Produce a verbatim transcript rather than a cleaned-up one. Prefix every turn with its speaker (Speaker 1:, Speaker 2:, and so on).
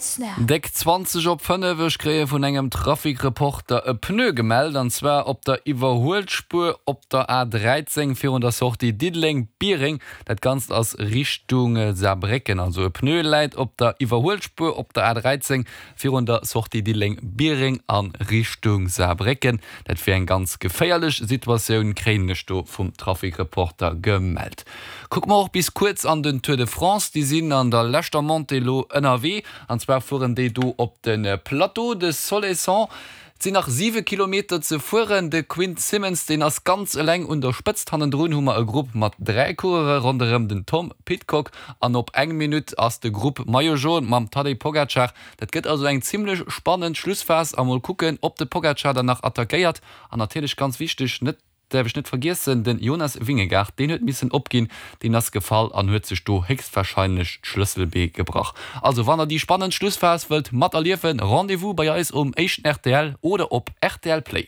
Speaker 1: Snap.
Speaker 2: Déck zwanzeg op fënnef, Ech kréie vun engem Trafic-Reporter e Pneu gemellt, an zwar op der Iwwerhuelspuer op der A dräizéng virun der Sortie Diddeleng-Biereng. Dat Ganzt ass Richtung Saarbrécken. Also e Pneu läit op der Iwwerhuelspuer op der A dräizéng virun der Sortie Diddeleng-Biereng a Richtung Saarbrécken. Dat wier eng ganz geféierlech Situatioun, kréien ech do vum Trafic-Reporter gemellt. Kucke mer och bis kuerz an den Tour de France. Déi sinn an der leschter Montée elo ënnerwee, an zwar fueren déi do op de Plateau de Solaison. Et sinn nach siwe Kilometer ze fueren. De Quinn Simmons, deen ass ganz eleng un der Spëtzt. Hannendrun hu mer e Grupp mat dräi Coureure ronderëm den Tom Pidcock an op eng Minutt ass de Grupp Maillot Jaune mam Tadej Pogacar. Dat gëtt also eng zimmlech spannend Schlussphas a mol kucken, ob de Pogacar dann nach attackéiert. An natierlech ganz wichteg, net däerf ech net vergiessen, den Jonas Vingegaard, deen huet missen opginn, deen ass gefall an huet sech do héchstwahrscheinlech d'Schlësselbee gebrach. Also wann der déi spannend Schlussphas wëllt materliewen, Rendez-vous bei eis um éischten rtl oder op rtl Play.